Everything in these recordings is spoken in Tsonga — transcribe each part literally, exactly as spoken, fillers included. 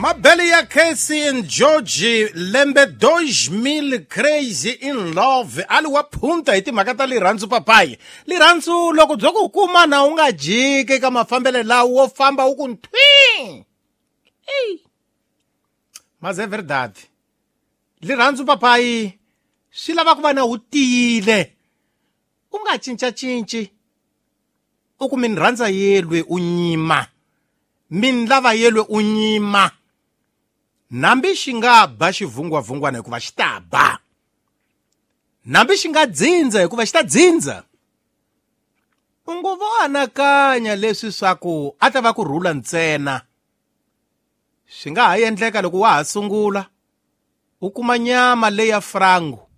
Mabele ya Casey and George lembe dois mil crazy in love ali wa phunta hi timhaka ta lirhandzu papayi lirhandzu loko byo ku kuma na u nga jiki ka mafambelo lawo wo famba u ku nthwi ei mas é verdade lirhandzu papayi swi lava ku va na wu tiyile u nga cincacinci u ku min rhandza yelwe u nyima min lava yelwe u nyima nambi xi nga ba xivungwavungwana hikuva xi ta ba nambi xi nga dzindza hikuva xi ta dzindza u ngo vo anakanya leswi swa ku a ta va ku rhula ntsena swi nga ha endleka loko wa ha sungula u kuma nyama leya frango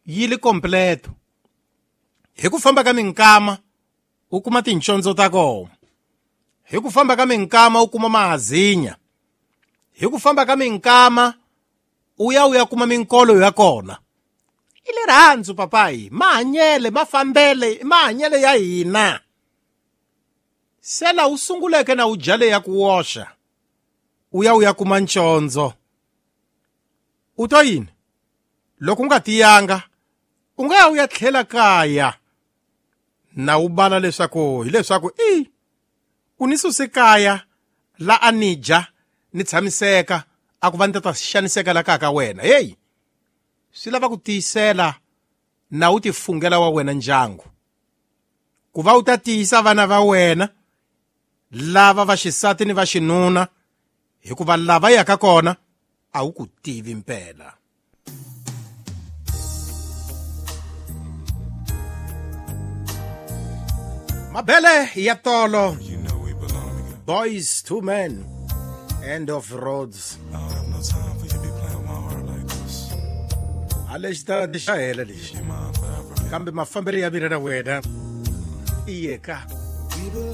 yi li completo hi ku famba ka minkama u kuma tincondzo ta kona hi ku famba ka minkama u kuma mahazinya hi ku famba ka minkama u ya u ya kuma minkolo ya kona i lirhandzu papayi mahanyele mafambele i mahanyele ya hina se la u sunguleke na u jale ya ku woxa u ya u ya kuma ncondzo u twa yini loko u nga tiyanga u nga ya u ya tlhela kaya na u bala leswaku hileswaku i u ni suse kaya la a ni dya ni tshamiseka a ku va ni ta ta xaniseka la kaya ka wena heyi swi lava ku tiyisela na u tifungela wa wena ndyangu ku va u ta tiyisa vana va wena lava va xisati ni va xinuna hikuva lava yaka kona a wu ku tivi mpela. Mabele ya tolo You know we belong together. Boys to Men, End of Roads. I don't have no time for you to be playing with my heart like this. A lexi ta xa hela lexi You mine forever. kambe mafambelo ya mina na wena i yeka. We belong.